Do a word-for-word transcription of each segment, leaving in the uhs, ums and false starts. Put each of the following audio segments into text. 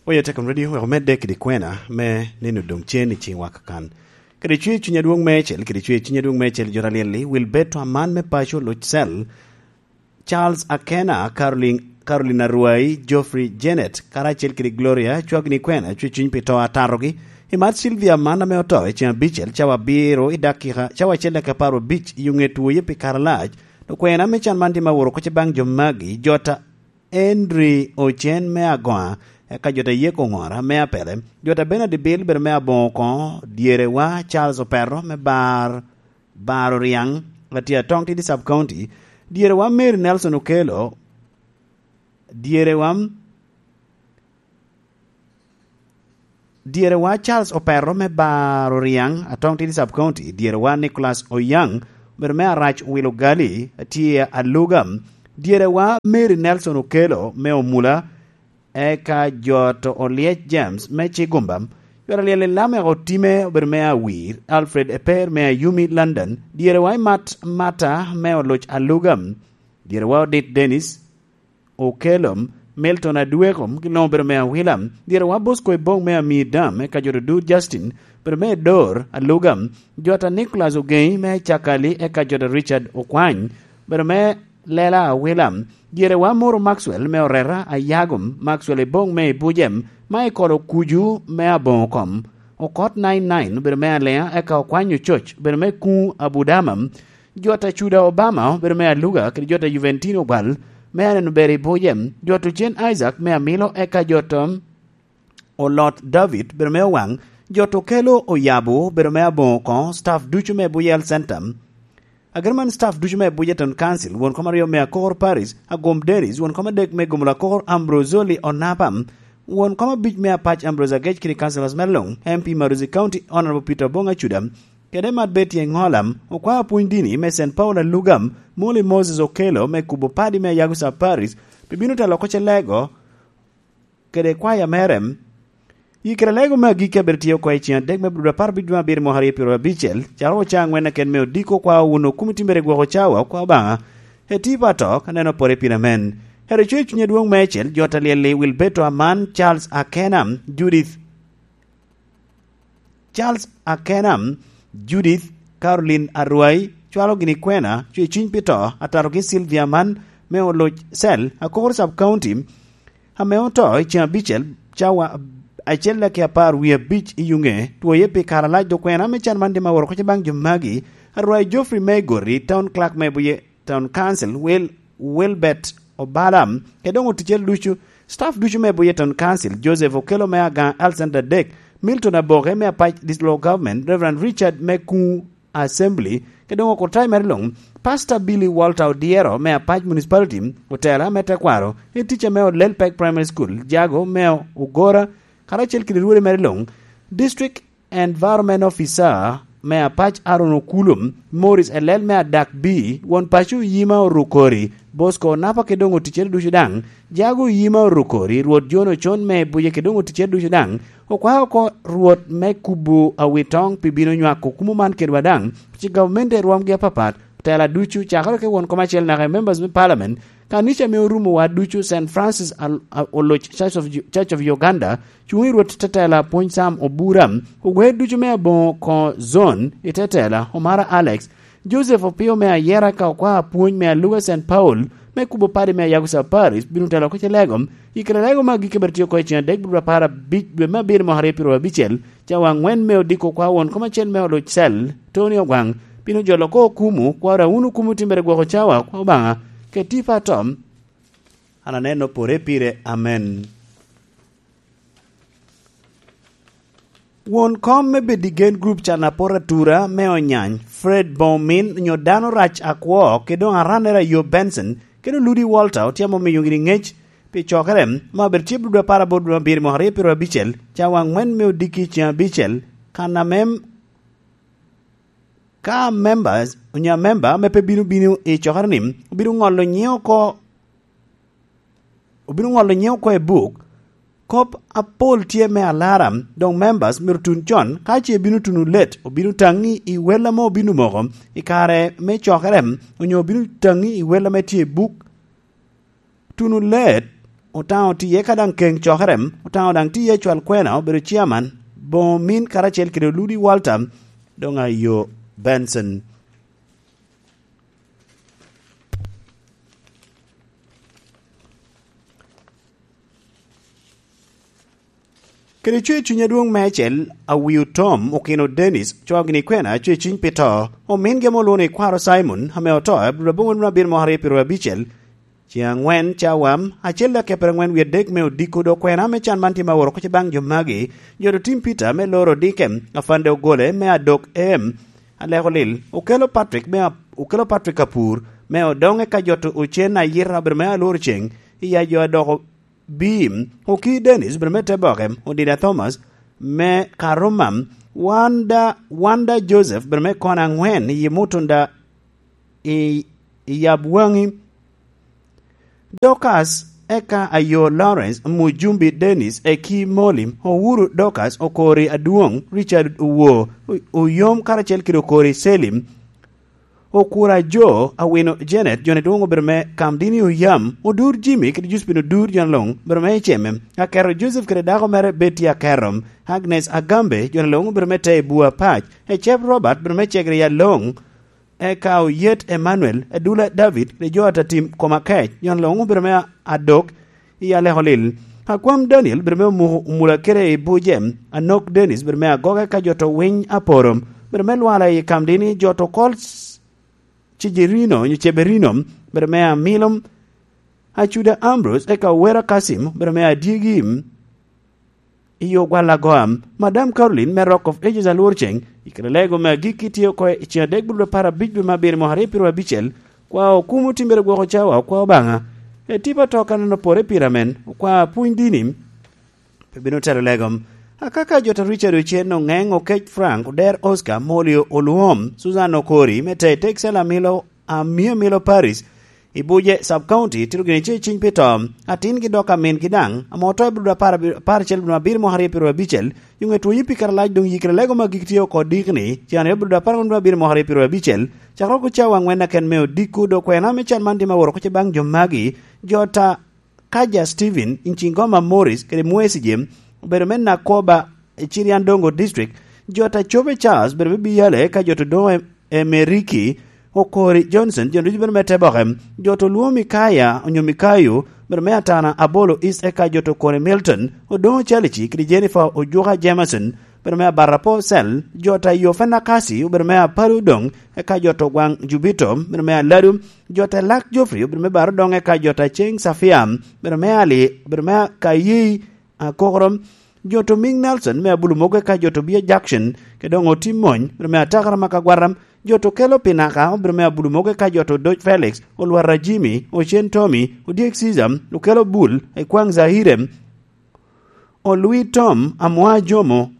Oya Tekom Radio wek omedde kede kwena me nino doŋ cen i ciŋwa kakan. Kede cwer cuny adwoŋ meicel, kede cwer cuny adwoŋ meicel, jo ta lyel-li, Wilberto Aman me paco Luc Cell, Charles Akena, Caroline, Caroline Arwai, Geoffrey Janet, karacel kede Gloria, cwagini kwena, cwer cuny pi to atatogi. I mat Sylvia Aman ame oto i ciŋ abicel, cawa abiro i dakika, cawa acel dakika apar abic i oŋet woye pi kare alac. Dok kwena me can man tye ma woro kocce baŋ jo magi, jo ta Henry Ocen me Agoa, eka jo ta Yeko Ŋora me Apele, jo ta Bernard Bill bedo me Aboŋo koŋo, dyerewa Charles Opero me Bar, Bar Oriaŋ, Atiatoŋ Tidi Sub County, dyerewa Mary Nelson Okello, dyerewa, dyerewa Charles Opero me Bar Oriaŋ, Atoŋ Tidi Sub County, dyerewa Nicholas Oyaŋ, obedo me Arac Wilo Gali, atye Aluga, dyerewa Mary Nelson Okello me Omula, eka jo to Olyec James me Cigumba, jo ta lyel i Lamek Otime obedo me Awir, Alfred Eper me Ayumi London, dyerewa i Mat Mata me Oluc Aluga, dyerewa Odit Dennis, Okello, Milton Adweko, gin luŋ obedo me Awila, dyerewa Bosco Ebong me Amir Dam, eka jo Odur Justin, obedo me Edor, Aluga, jo ta Nicholas Ogenyi me Cakali, eka jo ta Richard Okwany, obedo me Lela Awila, dyerewa Moro Maxwell me Orera, Ayagum, Maxwell Ebong me Ibujem, Michael Okuju me Aboŋo kom, Okot nine nine obedo me Alea, eka Okwany Ococ obedo me Kuŋ Abudama, jo ta Cuda Obama obedo me Aluga, kede jo ta Juventino Obal me Aneno Ber i Bujem, jo ta Ocen Isaac me Amilo, eka jo ta Olot David obedo me Owaŋ, jo ta Okelo Oyabo obedo me Aboŋo koŋo, staff ducu me Buyel Center. Ager man staff ducu me Bujeton Council, won kom aryo me Akor Paris, Agom Dennis, won kom adek me Gomolo Akor, Ambrosoli Onapa, won kom abic me Apac Ambrose Agec kede councilors me luŋ, M P Maruzi County, Honorable Peter Obong Acuda, kede Mat Betty Eŋola, okwao apwony dini me Saint Paul Alugam, Molly Moses Okello me kubo padi me Ayago Sub Paris, pi bino telo oko ce lego, kede kwaya mere. Yikere lego me agikki abedo tye oko i ceng adek me Abdul apar abic dwe abiro mwaka aryo pyero abicel, caro oca angwen aken me odiko kwa owuno kumo timbere gwoko cawa kwa Obaŋa. Eti pa to, ka neno pore pin amen. Hero coc cuny adwoŋ meicel, jo ta lyel-li Wilberto Aman, Charles Akena, Judith, Charles Akena, Judith, Caroline Arwai, cwalo gini kwena, cwe cuny pi to, atatogi Sylvia Aman, me Oluc Cell, Akor Sub County, ame oto i ceng abicel, cawa acel daki apar wie abic i yuŋe, twoye pi kare alac dok kwena me can man tye ma woro kocce baŋ jo magi, Arwai Geoffrey me Gori, Town Clerk me Buye Town Council, Wil-, Wilbert Obala, kede doŋ oticere ducu, staff ducu me Buye Town Council, Joseph Okello me Agaŋ Health Center adek, Milton Aboke me Apac District Local Government, Reverend Richard me Kuŋ Assembly, kede doŋ okurtai mere luŋ, Pastor Billy Walter Odyero me Apac Municipality, otela me tekwaro, i ticca me Olel Pek Primary School, Jago me Ogora, karacel kede rwode mere luŋ, District Environment Officer me Apac Aaron Okulu, Morris Elel me Adak B, won paco Yima Orukori, Bosco Onapa kede doŋ oticere ducu daŋ, Jago Yima Orukori, Rwot John Ocon me Buye kede doŋ oticere ducu daŋ, okwao oko Rwot me kubo awitoŋ pi bino nywako kumo man kedwa daŋ, ci gavumenti i rwomgi apapat, tela ducu, cakere ki won kom acel naka i members me parliament, kanica ame orumo wa ducu, Saint Francis al-, a-, Oloc Church of, Church of Uganda, cuŋ i Rwot tetela Pwony Sam Obura, ower ducu me aboŋo koŋo zone i tetela, Omara Alex, Joseph Opio me Ayera ka okwao apwony me Aluga Saint Paul, me kubo padi me Ayago Saparis, bino telo oko ce lego, i kare lego me agikki bene tye oko i ceng adek dwe apar abic dwe me abiro mwaka aryo pyero abicel, cawa angwen me odiko kwa won kom acel me Oloc Cell, Tony Ogwaŋ, bino jolo oko okumu, kwaro awun okumu timbere gwoko cawa kwa Obaŋa, keti pa tom, an aneno pore pire, amen. Won kom me Bedigen Group can apot atura me Onyany, Fred Bomin onyo dano rac akwo, kede doŋ arannere Ayo Benson, kede Oludi Walter otye ame omiyo gini ŋec pi cokere, ma obedo tye dwe apar aboro dwe abiro mwaka aryo pyero abicel, cawa angwen me odiki ceng abicel, kan ame ka members, onyo amemba ame pe bino bino i cokere-ni, obino ŋolo nyiŋ oko, obino ŋolo nyiŋ oko i buk. Kop apol tye me alara, doŋ members myero tun con, ka ce ibino tuno let, obino taŋi i wel ame obino moko i kare me cokere, onyo obino taŋi i wel ame tye i buk. Tuno let, Otaŋo tiye ka daŋ keŋ cokere, Otaŋo daŋ tiye cwal kwena, obedo ciaman, boŋo min karacel kede Ludi Walter, doŋ ayo Benson. Kede cwer cuny adwoŋ meicel, Awio Tom okino Dennis, cwao gini kwena cwer cuny pi to, omin gemo olwoŋo ni kwaro Simon, ame oto, abiro aboŋo nino abiro moko aryo pi rweo abicel, ceŋ aŋwen cawa, acel dakiepere aŋwen wie adek me odiko dok kwena me can man tye ma oro kuc baŋ jo magi, jo otim Peter me loro odike, afande ogole me adok em, aleko lil, okelo Patrick me a-, okelo Patrick Apur, me odoŋe ka joto ocen ayita obedo me alworo ceŋ, iya jo adoko Bim, Oki Dennis, obedo me te boke, Odida Thomas, me Karuma, Wanda, Wanda Joseph, obedo me kona aŋwen, i Mutunda, i, i Yabwaŋi, Dorcas, eka ayo Lawrence, Mujumbi Dennis, Eki Moli, Owuru Dorcas, Okori Adwoŋ, Richard Owo, O-, Oyom karacel kede Okori Selim, Okura Jo, Awino Janet, joni dwoŋ obedo me Kamdini Oyam, Odur Jimmy kede Josephine Odur, joni luŋ obedo me Iceme, Aketo Joseph kede dako mere Betty Aketo, Agnes Agambe, joni luŋ obedo me Tei Bua Pac, Ecep Robert, obedo me Cegri Yaloŋ, eka Oyet Emmanuel, Edula David, kede jo a tim koma kec, joni luŋ obedo me Adok, i Aleko Lil. Akwam Daniel, bedo me Omuko Omula kede i Buce, Anok Dennis, bedo me Agoge ka jo to Winy Aporo, bedo me Lwala i Kamdini, jo to Kol Cijerino, nyo Ceberino, bedo me Amilo, Acuda Ambrose, eka Owera Kasim, bedo me Adyegi, i Ogwal Agoa, Madam Caroline me Rock of Ages Alwor Ceŋ, i kare lego me agikki tye oko i ceŋ adek bulu apar abic dwe me abiro mwaka aryo piro abicel, kwa okumo timbere gwoko cawa okwa Obaŋa. E tipo ato ka neno pore pire amen, okwa pwony dini, pe bino telo lego. Akaka jo ta Richard Ochen, Oŋeŋ, Okec Frank, Oder Oscar, Molio Olwom, Susan Okori, me te Texel Amilo, Amio Milo Paris, i Buce Sub County, tito gini ce ciny pi to, atin gi dok amin gi daŋ, amo oto i bulu apar, apar acel bulu abiro mwaka aryo piro abicel, yung etwonyi pi kare lac doŋ yikre lego ma gik tye oko dikni, cen aryo bulu apar bulu abiro mwaka aryo piro abicel, cakro ku cawa aŋwen aken me odiko, dok kwena me can man tye ma woro kuce baŋ jo magi, jo ta Kaja Stephen, Ncingoma Morris, kede Mwesi Jim, obedo me Nakoba, i Ciriandongo District, jo ta Cobe Charles, obedo me Biyale, ka jo to doŋo e, e Meriki, Okori Johnson, jo ducu bedo me Teboke, jo to Luo Mikaya, onyo Mikayo, obedo me Atana Abolo East, eka jo to Kone Milton, Odoŋo Chalici, kede Jennifer Ojuka Jameson, obedo me Abarapo Cell, jo ta Yofena Kasi, obedo me Apalu Doŋ, eka jo to Gwaŋ Jubito, obedo me Aladu, jo ta Lak Geoffrey, obedo me Baro Doŋ, eka jo ta Ceng Safia, obedo me Ali, obedo me Kayi, Akokoro, jo to Ming Nelson, me Abulu Mogo, eka jo to Bia Jackson, ke doŋ Otim Mony, obedo me Atakara ma Kagwara, jo to Kelo Pinaka, obedo me Abulu Mogo, eka jo to Doc Felix, Olwara Jimmy, Ocen Tommy, Odyek Caesar, Okelo Bul, Ekwaŋ Zaire, Olwi Tom, Amwa Jomo,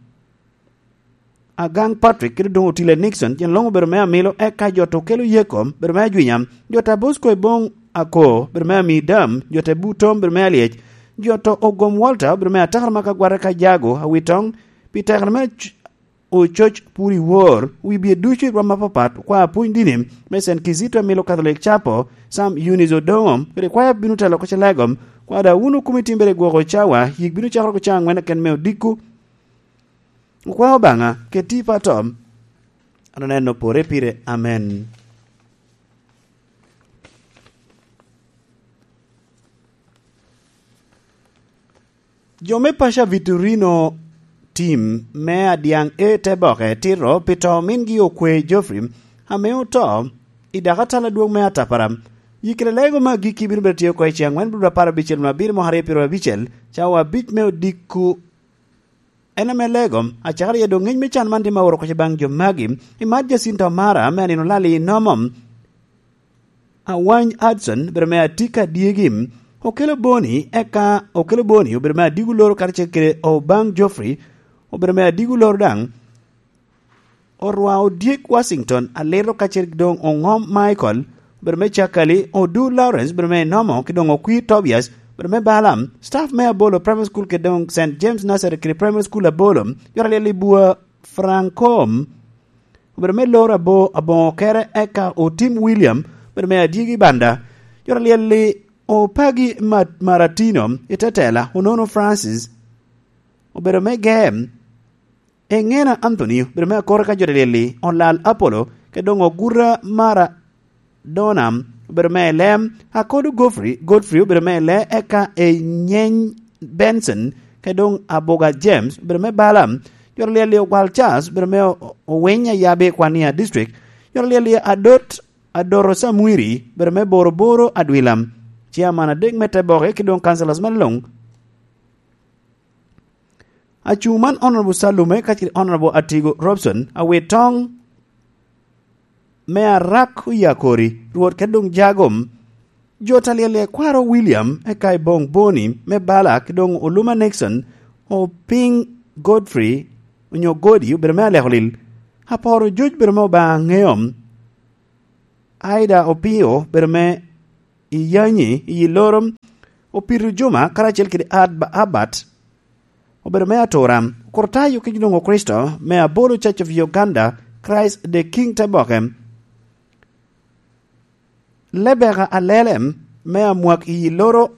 Agaŋ Patrick, kede doŋ Otile Nixon, tyen luŋ obedo me Amilo, eka jo to Kelo Yeko, obedo me Ajwinya, jo ta Bosco Ebong Ako, obedo me Amidam, jo ta Butom, obedo me Alyec, jo to Ogom Walter, obedo me Atakara ma Kagwara ka Jago, Awitoŋ, pi tekere me Oc-, Ococ pur i wor, wi bye ducu i rwom apapat, okwa apwony dini, me Saint Kizito Amilo Catholic Chapel, Sam Eunice Odoŋo, kede kwaya bino telo oko Celegom, kwa da wun okumi timbere gwoko cawa, yik bino cakere oko cawa aŋwen aken me odiko, okwa Obaŋa, keti pa tom, an oneno pore pire, amen. Jo me paco a Victorino tim me Adyaŋ E te boke tito pi to mingi okwe Geoffrey, ame oto i dakatala adwoŋ me Atapara. Yikere lego me agikki bino bedo tye oko i ceŋ aŋwen bulu apar abicel nwa abiro mwaka aryo piro abicel, cawa abic me odiko. En ame lego, acakere yedo ŋec me can man tye ma oro koc baŋ jo magi, i mat Jacinta Omara, ame anino lal i nomo. Awany Hudson, obedo me Atika Dyegi, okelo Boni, eka okelo Boni, obedo me Adigu Loro karacel kede Obaŋ Geoffrey, obedo me Adigu Loro daŋ, orwa Odyek Washington, Alito kacel doŋ Oŋom Michael, obedo me Cakali, Odu Lawrence, obedo me Inomo, ki doŋ Okwir Tobias, obedo me Balaam, staff me Abolo Primary School kede doŋ Saint James Nursery kede Primary School Abolo, yot alyel i bwa Frankom, obedo me loro abo-, aboŋo kere, eka Otim William, obedo me Adyegi Banda, yot alyel i Opagi Mat-, Maratino i te tela, Onono Francis obedo me gem, Engena Anthony obedo me akor ka jo lyel-li, Olal Apollo, ke doŋ Oguta Maradona obedo me ele, Akodo Godfrey, Godfrey obedo me ele, eka Enyeny Benson, ke doŋ Abuga James obedo me bala, jo lyel-li Ogwal Charles obedo me O-, Owiny Ayabe Kwania District, jo lyel-li Adot, Adoro Samwiri obedo me Boroboro Adwilam, chairman adek me Teboke, ki doŋ councillors me luŋ. Acuŋ man Honorable Salume kacel Honorable Atigo Robson, awit toŋ me Arak Oyakori, Rwot kede doŋ Jagom, jo ta lyel-li Kwaro William, eka Ibong Boni me Bala, ki doŋ Oluma Nixon, Oping Godfrey, onyo Godi, obedo me Alekolil, Aporo Joc obedo me Obaŋa Ŋeom, Aida Opio obedo me Iyanyi, Iyilorom, Opito Juma, karacel kede Ad-, Abat, obedo me Atura, Kurtayo ki Lungo Kricito me Abolo Church of Uganda, Christ the King Teboke, Lebeka Alele me Amwak Iyiloro,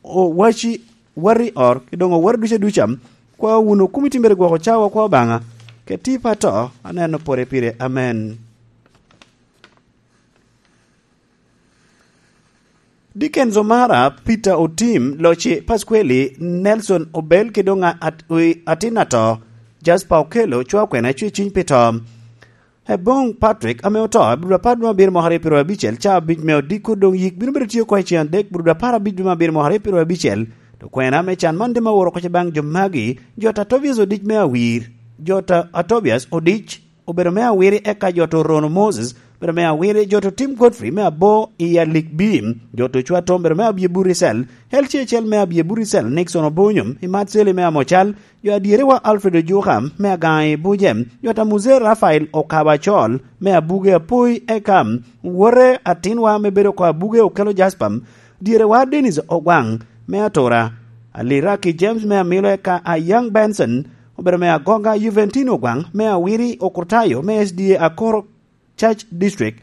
Owaci, Wari Or, ki doŋ Owero ducu aduca, kwa wunu kumi timbere gwoko cawa kwa Obaŋa, ke tipo ato aneno pore pire. Amen. Dickens Omara, Peter Otim, Loci Pasqueli, Nelson Obel, ki doŋ at-, wi atin ato, Jasper Okello, cwa kwena cwe ciny pi to. Eboŋ Patrick ame oto, brudu apar dwe abiro mwaka aryo piro abicel, ca abic me odiko doŋ yik bino bedo tye oko i cen adek, brudu apar abic dwe abiro mwaka aryo piro abicel. To kwena me can man dema woro koca baŋ jo magi, jo ta Tobias Odic me Awir, jo ta Tobias Odic, obedo me Awiri, eka jo to Rono Moses, obedo me Awiri, jo to Tim Godfrey me Abo i Alik Bim, jo to Cwa Tom, obedo me Abye Buricel, L C H L me Abye Buricel, Nixon Obonyo, i Mat Seli me Amocal, jo adyerewa Alfred Ojuka me Agaŋa i Buje, jo ta Muzee Rafael Okaba Acol me Abuge Apoi, eka wote atinwa me bedo oko Abuge Okelo Jasper, dyerewa Dennis Ogwaŋ me Atura, Aliraki James me Amilo, eka Ayaŋ Benson, obedo me Agoga, Juventino Ogwaŋ me Awiri, Okurtayo me S D A Akoro Church District,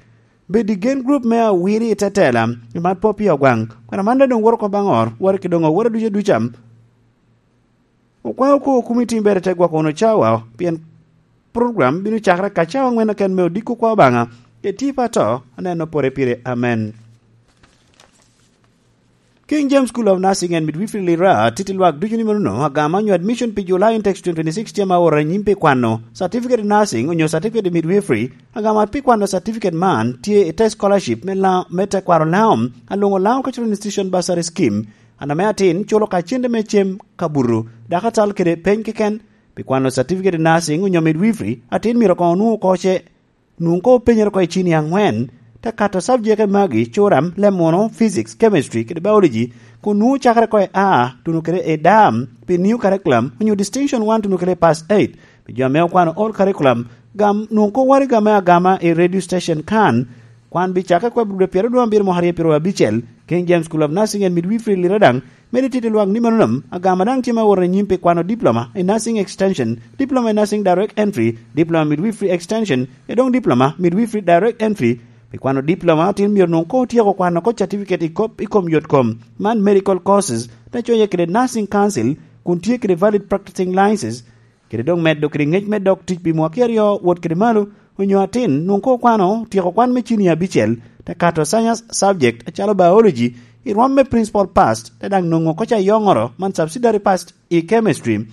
Bedi Gen Group me Awiri i Tetela, i Mat Popi Ogwaŋ, kwena man doŋ woro oko baŋ or, woro ki doŋ oworo ducu aduca. Okwaŋ oko kumi timbere te gwoko wunu cawa, pien program bino cakere ka cawa aŋwen keken me odiko kwa Obaŋa, ke tipo ato aneno pore pire. Amen. King James School of Nursing and Midwifery Lira titi lwak ducu ni manono, agama nyo admission pi July Intake twenty twenty-six tye ma oro anyim pi kwano Certificate in Nursing onyo Certificate in Midwifery. Agama pi kwano certificate man tye i te scholarship me la-, me tekwaro Laŋo, Alongo Laŋo Cultural Institution Bursary Scheme. An ame atin culo ka cente me cem, kabuto, dakatal kede peny keken. Pi kwano Certificate in Nursing onyo Midwifery, atin myero koŋ onwoŋ oko ce nwoŋo koŋ openyere oko i cini aŋwen, te kato subject magi, curam, lemono, physics, chemistry, kede biology, kun nwoŋo cakere oko i A, tuno kede i D A M, pi new curriculum, onyo distinction one, tuno kede i pass eight. Pi jo ame okwano old curriculum, gam nwoŋo koŋ waraga me agama i radio station kan. Kwan bi cakere oko i brudu pyeraryo dwe abiro mwaka aryo piro abicel, King James School of Nursing and Midwifery Lira daŋ medo tito lwak ni manono, agama daŋ tye ma woro anyim pi kwano diploma i Nursing Extension, diploma i Nursing Direct Entry, diploma Midwifery Extension, e doŋ diploma Midwifery Direct Entry. Pi kwano diploma, atin myero nwoŋ koŋ otyeko kwano oko certificate i kop, i kom yot kom, man medical courses, te coye kede Nursing Council, kun tye kede valid practicing licenses, kede doŋ medo kede ŋec me dok tic pi mwaki aryo wot kede malo, onyo atin nwoŋ koŋ okwano tyeko kwan me cini abicel, te kato science subject acalo biology, i rwom me principal pass, te daŋ nwoŋo oko ca yoŋoro man subsidiary pass i chemistry.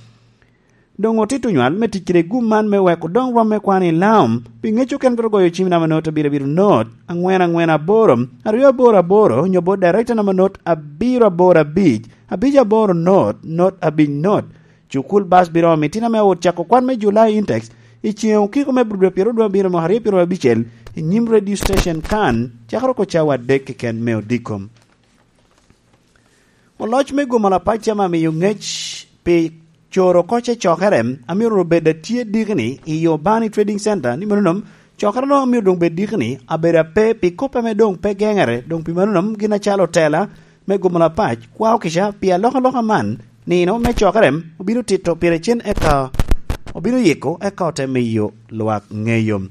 Doŋ otito nywal me tic kede gum man me weko doŋ rwom me kwan i Laŋo, pi ŋec okene twero goyo cim namba not abiro abiro not, aŋwen aŋwen aboro, aryo aboro aboro, onyo bot director namba not abiro aboro abic, abic aboro not, not abic not. Cukul bas biro omi itino ame owot cako kwan me July Intake i ceŋ okiko me brudu pyeraryo dwe abiro mwaka aryo piro abicel i nyim radio station kan, cakere oko cawa adek keken me odiko. Oloc me gum alapac tye ame amiyo ŋec pi coro oko ce cokere, amyero obed atye dikini i Urbani Trading Center, ni manono cokere no myero doŋ bed dikini, abedo ape pi kop ame doŋ pe geŋere, doŋ pi manono gin acalo otela me gum alapac kwao kica pi alokaloka man, nino me cokere obino tito pire cen eka obino yiko eka ote miyo lwak ŋeyo.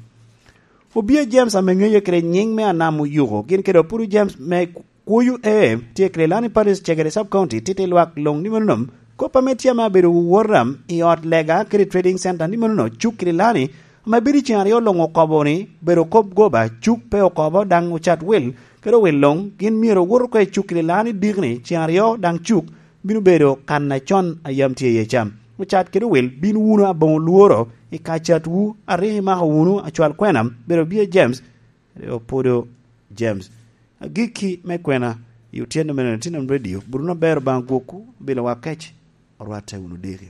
Obia James ame ŋeye kede nyiŋ me Anam Oyuko, gin kede Opuru James me Kwoyo ee tye kede lani paris cegere sub county titi lwak long ni manonom. Kop ame tye ame abedo wora i ot lega kede trading center ni manono cuk kede lani ame bedo i ceng aryo long okobo ni bedo kop goba cuk pe okobo daŋ ocat wil kede owil long gin myero owot oko i cuk kede lani dikni ceng aryo daŋ cuk bino bedo kan acon a yam tye iye cam. Ocat kede owil bin wunu aboŋo lworo i kacatwu a rik imako wunu acwal kwena bedo bia James, kede Opodo James. Agikki me kwena i otyeno mene Tinam Radio, buto na ber Obaŋa gwokwu, bilo wa kec, orwatte wunu diki.